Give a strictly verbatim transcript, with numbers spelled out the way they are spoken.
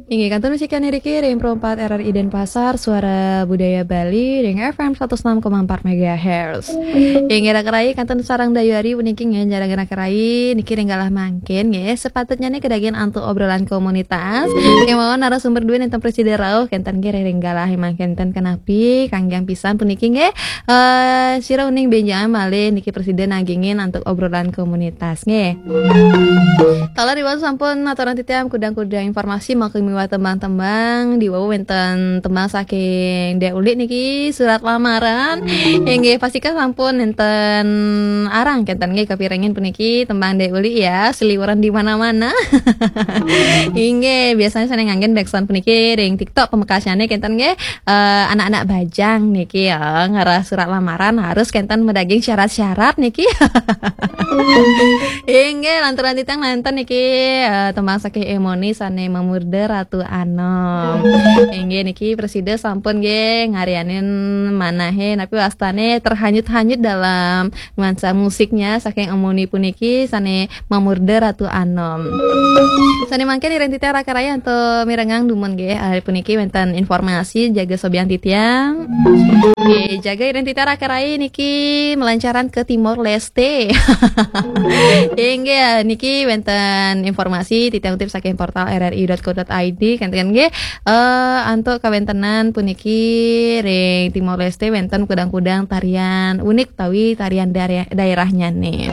Inggih, kantun masikan niki ring Pro empat R R I Denpasar, Suara Budaya Bali, ring F M seratus enam koma empat megahertz. Inggih, raka rai, kantun sareng Dayu Ari puniki nggih, sareng raka rai niki ring galah mangkin nggih. Sepatutnya nih kedagian antuk obrolan komunitas. Kemawon narasumber duwe nenten presida rauh, kenten nggih ring galah mangkin ten kenapi, kanggiang pisan puniki nggih. Eh, sira uning benjang malih niki presida nagingin antuk obrolan komunitas nggih. Taler iwau sampun aturan titiang kudang-kudang informasi makin miwah tembang-tembang, diwau wenten tembang saking Dek Ulik niki, Surat Lamaran. Inggih, pastika sampun nenten arang kenten nggih kapirengin puniki tembang Dek Ulik ya, seliweran di mana-mana. Inggih, biasanya saya nganggen backsound puniki ring TikTok pamekasyane kenten nggih. Eh, anak-anak bajang niki ya, ngarah surat lamaran harus kenten medaging syarat-syarat niki. Inggih, lanturan titiang nenten niki, eh, tembang saking Emoni sane mamurda Ratu Anom. Inggih, niki presida sampun nggih ngarianin manahe, napi wastane terhanyut-hanyut dalam nuansa musiknya saking Emoni puniki sane mamurda Ratu Anom. Sane mangkin ring titiang raka rai antuk mirengang dumun nggih, eh, puniki wenten informasi jaga sobian titiang. Nggih, jaga ring titiang raka rai niki melancaran ke Timor Leste. Inggih, niki wenten informasi titiang utip saking portal R R I dot co dot I D, kenten nggih, eh, antuk kawentenan puniki ring Timor Leste wenten kudang-kudang tarian unik utawi tarian daerah, daerahnya nih.